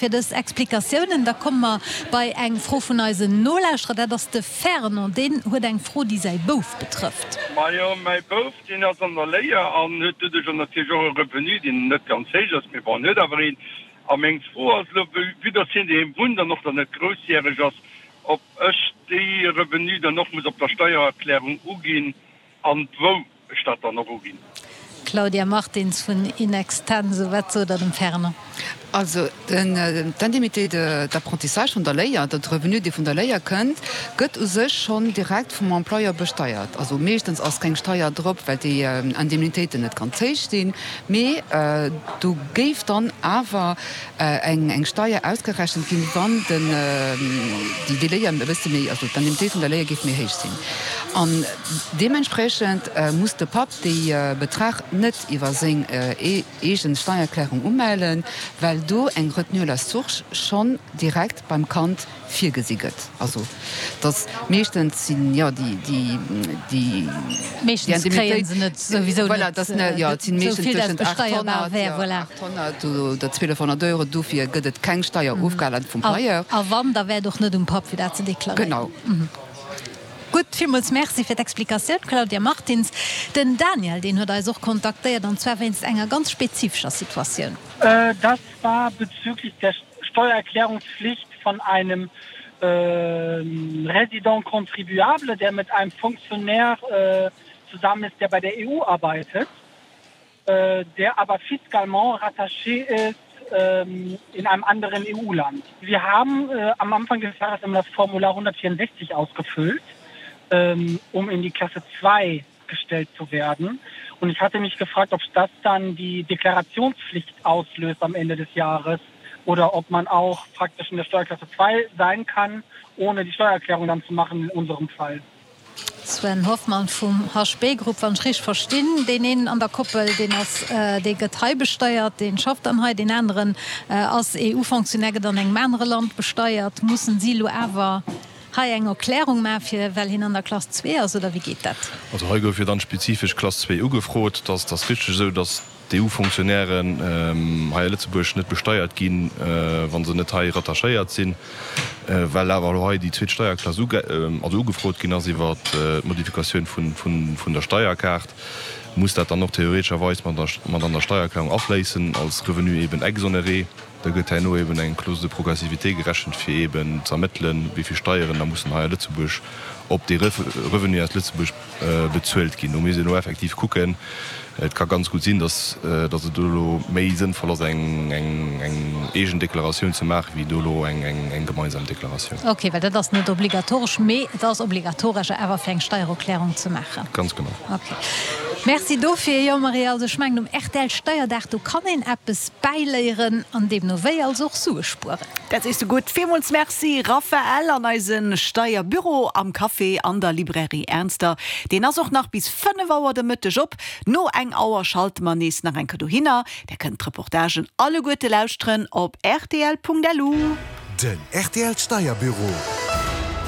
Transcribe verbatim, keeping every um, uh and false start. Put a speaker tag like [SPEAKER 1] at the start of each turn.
[SPEAKER 1] Fir dës Explikatiounen. Da komme mer bei eng Fro vun eisen Nolauschterer. Dat ass de Fernand. Deen huet eng Fro, déi säi Bouf betrëfft.
[SPEAKER 2] Majo, mäi Bouf, deen ass an der Léier an huet doduerch och natierlech och e Revenu, deen net ganz héich ass, mee bon, en huet awer een. A meng Fro ass elo, vue dass hien doheem wunnt an och nach net groussjäreg ass, ob ech dee Revenu dann och muss op der Steiererklärung uginn an wou ech dat dann och uginn.
[SPEAKER 1] Claudia Martins vun In Extenso, Wat sot Der dem Fernand?
[SPEAKER 3] Also d'Indemnité d'apprentissage vun der Léier, de Revenu, dee vun der Léier kënnt, gëtt u sech schonn direkt vum Employeur besteiert. Also meeschtens ass keng Steier drop, well déi Indemnitéiten net ganz héich sinn, mee do géif dann awer eng Steier ausgerechent ginn, wann déi Léier e bësse méi, also d'Indemnitéit vun der Léier géif méi héich sinn. An deementspriechend muss de Papp dee Betrag net iwwer seng eegen Steiererklärung umellen, well do eng Retenue à la source schonn direkt beim Kand virgesi gëtt. Also dass meeschtens sinn jo déi déi déi
[SPEAKER 1] Meeschtens kréie se net souwisou
[SPEAKER 3] net, voilà, dass ne jo et sinn meeschtens tëschent achthonnert, jo, achthonnert oder zwielefhonnert Euro, dofir gëtt et keng Steierofgalen vum Payeur.
[SPEAKER 1] A wann, da wär et och net um Papp fir dat ze deklaréieren.
[SPEAKER 3] Genau.
[SPEAKER 1] Gutt, villmools Merci fir d'Explikatioun, Claudia Martins. Den Daniel, deen huet eis och kontaktéiert, an zwar wéinst enger ganz spezifescher Situatioun.
[SPEAKER 4] Das war bezüglich der Steuererklärungspflicht von einem äh, Résident contribuable, der mit einem Funktionär äh, zusammen ist, der bei der E U arbeitet, äh, der aber fiscalement rattaché ist ähm, in einem anderen E U-Land. Wir haben äh, am Anfang des Jahres immer das Formular hundertvierundsechzig ausgefüllt, ähm, um in die Klasse zwei gestellt zu werden. Und ich hatte mich gefragt, ob das dann die Deklarationspflicht auslöst am Ende des Jahres oder ob man auch praktisch in der Steuerklasse zwei sein kann, ohne die Steuererklärung dann zu machen in unserem Fall.
[SPEAKER 1] Sven Hoffmann vum H B Group, wann ech richteg verstinn, deen een an der Koppel, deen ass, dee gëtt hei besteiert, dee schafft dann hei, deen aneren ass E U-Fonctionnaire, gëtt an engem anere Land besteiert. Mussen si elo awer hei eng Erklärung maachen, fir well hien an der Klass zwee ass, oder wéi geet dat?
[SPEAKER 5] Also hei gouf jo dann spezifesch Klass zwee ugefrot. Dat ass richteg esou, datt d'E U-Fonctionnairen hei a Lëtzebuerg net besteiert ginn, wa se net hei rattachéiert sinn. Well awer elo hei déi zweet Steierklass also ugefrot ginn ass iwwer d'Modifikatioun vun der Steierkaart, muss dat dann och theoretescherweis mat an der Steiererklärung afléissen als Revenu eben exonéré. Da gëtt herno eben eng Clause de progressivité gerechent, fir eben z'ermëttelen, wéi vill Steieren da mussen hei a Lëtzebuerg op dee Revenu aus Lëtzebuerg bezuelt ginn. Do misst een elo effektiv kucken. Et ka ganz gutt sinn, datt et do elo méi sënnvoll ass, eng eegen Deklaratioun ze maachen, wéi do elo eng gemeinsam Deklaratioun.
[SPEAKER 1] Ok, well dat ass net obligatoresch, mee et ass obligatoresch awer fir eng Steiererklärung ze maachen.
[SPEAKER 5] Ganz genau.
[SPEAKER 1] Ok. Merci dofir. Jo Marie, also ech mengen um R T L Steierdag, do kann een eppes bäiléieren an deemno wéi also och Sue spueren.
[SPEAKER 6] Dat sees du gutt. Villmools Merci Raphaël an eise Steierbüro am Café an der Librairie Ernster. Deen ass och nach bis fënnef Auer de Mëtteg op. No eng Auer schalte mer nees nach eng Kéier dohinner. Där kënnt d'Reportagen alleguerte lauschteren op R T L Punkt L U.
[SPEAKER 7] Den R T L Steierbüro.